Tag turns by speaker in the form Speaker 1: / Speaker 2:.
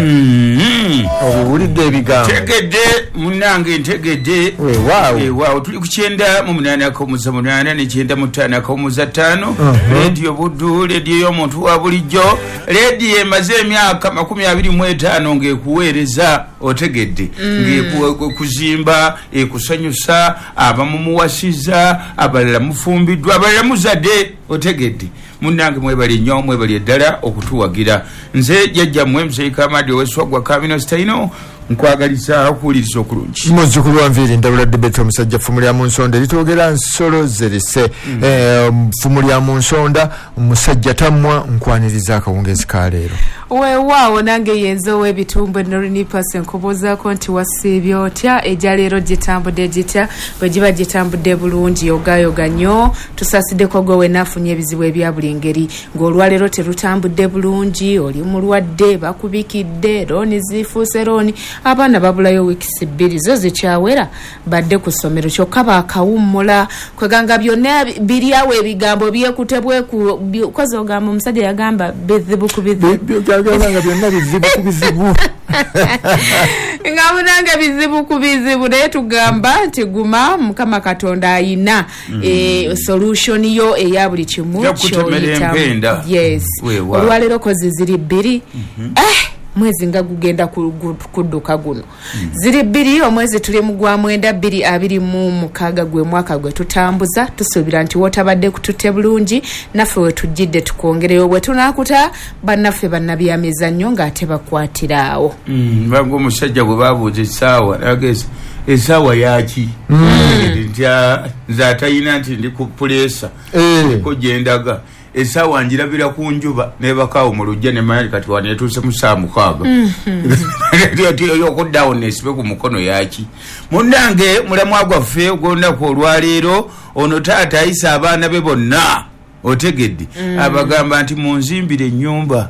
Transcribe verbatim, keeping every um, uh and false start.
Speaker 1: Mm.
Speaker 2: Obiwulidde ebigambo?
Speaker 1: Ntegedde munnange, ntegedde.
Speaker 2: Weewaawo.
Speaker 1: Weewaawo, tuli ku kyenda mu munaana akawumuza munaana ne kyenda mu ttaano akawumuza ttaano, Leediyo Buddu, leediyo y'omuntu wa bulijjo, leediyo emaze emyaka makumi abiri mu etaano ng'ekuweereza, otegedde, ng'ekuzimba, ekusanyusa. Abamu muwasiza, abalala mufumbiddwa, abalala muzadde, otegedde. Munnange, mwebali nnyo, mwebali eddala okutuwagira. Nze jjajjammwe Muzeyi Kamadi oweswagwa Kamino Sitaino, nkwagaliza okuwuliriza okulungi.
Speaker 2: Muzzukulu wa Nviiri Ndabula Debet, omusajja ffumu lya mu nsonda eritwogera nsolo zerise. Eh, ffumu lya mu nsonda, omusajja tammwa, nkwaniriza akawungezi ka leero.
Speaker 3: Weewaawo, nange yenze ow'ebitumbwe Norinipase, nkubuuzaako nti wasiibye otya? Ejja leero gitambudde gitya? Bwe giba gitambudde bulungi, yogayoga nnyo. Tusaasiddeko gwe wenna afunye ebizibu ebya buli ngeri, ng'olwaleero terutambudde bulungi, oli mulwadde, bakubikidde looni, zifuuse looni, abaana babulayo wiikisi bbiri zo zikyawera badde ku ssomero, kyokka baakawummula. Kweganga byonna biri awo, ebigambo byekute bweku bi- kozi ogamba omusajja yagamba bizibu ku bizibu.
Speaker 2: Byagamba nga byonna bizibu ku bizibu.
Speaker 3: Nga munange bizibu ku bizibu, naye tugamba nti guma, Mukama Katonda ayina eh, solution yo eya buli kimu
Speaker 1: Yakutemera
Speaker 3: ky'oyitamu.
Speaker 1: Empenda.
Speaker 3: Yes.
Speaker 1: Weewaawo.
Speaker 3: Olwaleero kozi ziri bbiri. Eh, mwezi nga gugenda ku- gu- kudduka guno. Ziri bbiri omwezi tuli mu gwa mwenda, bbiri abiri mu mukaaga, gwe mwaka gwe tutambuza. Tusuubira nti wootabadde kututte bulungi, naffe we tujjidde tukwongereyo bwe tunaakuta bannaffe bannabyamizannyo ng'ate bakwatira awo.
Speaker 1: Mm, banga omusajja bwe babuuza essaawa, nageza essaawa yaki nti, "Ah, nze atayina nti ndi ku puleesa
Speaker 2: Eh.
Speaker 1: ko gyendaga, essaawa njirabira ku njuba nebakaawo mu lujja, nemanya kati wanetuuse mu saa mukaaga okuddawo nesibe ku mukono yaki." Munnange, mulamwa gwaffe ogwolunaku olwaleero, ono taata ayisa abaana be bonna, otegedde, abagamba nti munzimbire ennyumba.